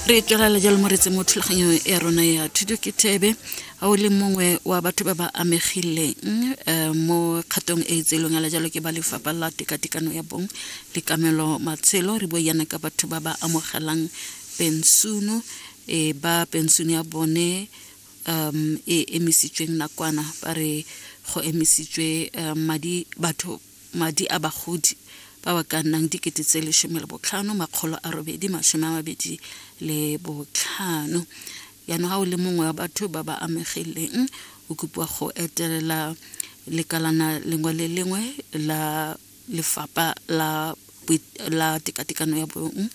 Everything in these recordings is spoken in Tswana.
Re tswelela jalo moretse mo thulaganyo ya rona ya Thuto ke Thebe. A o le mongwe wa batho ba ba amegileng mo kgatong e e tseelweng ala jalo ke ba lefapha la tekatekano ya bong le kamelo matshelo? Re bua yana ka batho ba ba amogelang pensuno, e ba pensuno ya bone e emisitsweng nakwana. Ba re go emisitswe madi batho madi a bagodi ba ba ka nnang 15825. Jaanong ga o le mongwe wa batho ba ba amegileng, o kopiwa go etelela lekalana lengwe le lengwe la lefapha la tekatekano ya bong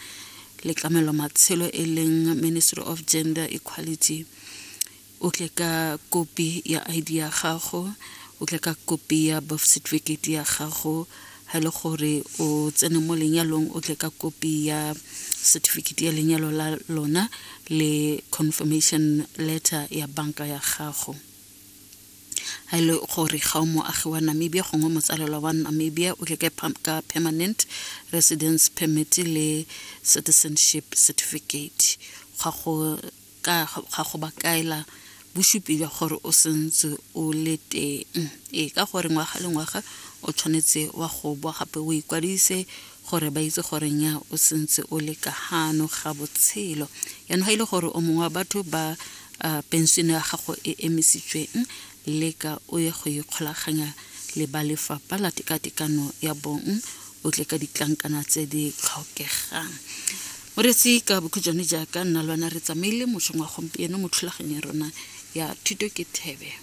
le tlamelo matshelo, e leng Ministry of Gender Equality. O tle ka kopi ya ID ya gago, o tle ka kopi ya birth certificate ya gago. Ha e le gore o tsene mo lenyalong, o tle ka kopi ya certificate ya lenyalo la lona le confirmation letter ya banka ya gago. Ha e le gore ga o moagi wa Namibia gongwe motsalelwa wa Namibia, o tle ka permanent residence permit le citizenship certificate ga go ba kaela bosupi jwa gore o sentse o le teng. Ee, ka gore ngwaga le ngwaga o tshwanetse wa go boa gape o ikwadise gore ba itse gore nya o sentse o le ka gano ga botshelo. Yaanong ga e le gore o mongwe wa batho ba pension ya gago e emisitsweng, leka o ye go ikgolaganya le ba lefapha la tekatekano ya bong, o tle ka ditlankana tse di tlhokegang. Moretsi, ka bokhutshwane, jaaka nna le wena re tsamaile mošong wa gompieno mo thulaganyo ya rona ya Thuto ke Thebe.